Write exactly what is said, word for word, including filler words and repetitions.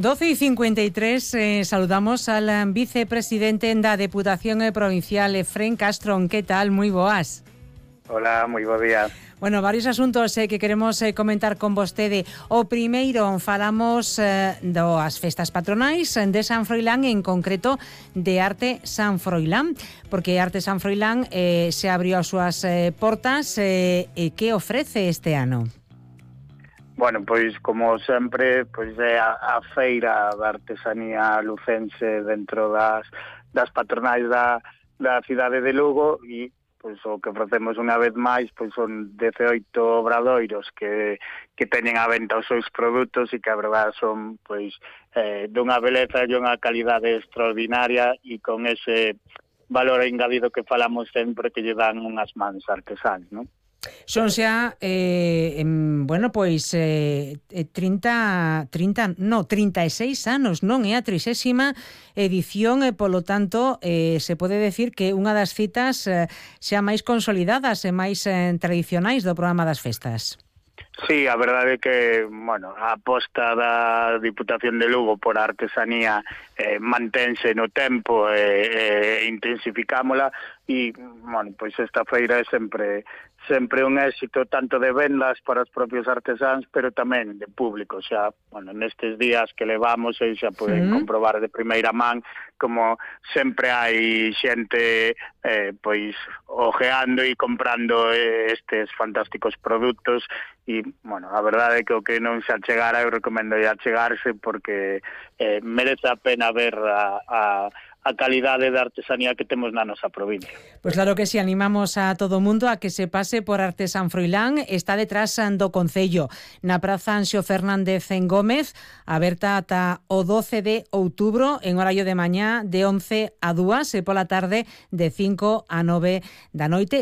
doce y cincuenta y tres, eh, saludamos al vicepresidente da Deputación Provincial, Efrén Castro. ¿Qué tal? Moi boas. Hola, moi bo día. Bueno, varios asuntos eh, que queremos eh, comentar con vostede. O primeiro, falamos eh, das festas patronais de San Froilán, en concreto de Arte San Froilán, porque Arte San Froilán eh, se abrió as súas eh, portas. Eh, e que ofrece este ano? Bueno, pois como sempre, pois é a, a feira da artesanía lucense dentro das, das patronais da, da cidade de Lugo, e pois o que ofrecemos unha vez máis pois son dezaoito obradoiros que, que teñen a venta os seus produtos e que a verdade son pois eh, dunha beleza e unha calidade extraordinaria, e con ese valor engadido que falamos sempre, que lle dan unhas mans artesáns, non? Son xa, eh, em, bueno, pois eh, trinta, trinta, no, trinta e seis anos, non? É a trixésima edición e, polo tanto, eh, se pode decir que unha das citas eh, xa máis consolidadas e máis eh, tradicionais do programa das festas. Sí, a verdade é que, bueno, a aposta da Diputación de Lugo por a artesanía eh, mantense no tempo e eh, eh, intensificámola, e, bueno, pois esta feira é sempre sempre un éxito tanto de vendas para os propios artesáns, pero tamén de público. Xa, bueno, nestes días que levamos, e xa poden uh-huh. comprobar de primeira man como sempre hai xente eh, pois ojeando e comprando eh, estes fantásticos produtos. E, bueno, a verdade é que o que non se achegara, eu recomendo a achegarse, porque eh, merece a pena ver a, a a calidade de artesanía que temos na nosa provincia. Pois claro que si, animamos a todo o mundo a que se pase por Arte San Froilán. Está detrás do Concello, na Praza Anxo Fernández en Gómez, aberta ata o doce de outubro, en horario de mañá de once a dúas, e pola tarde de cinco a nove da noite.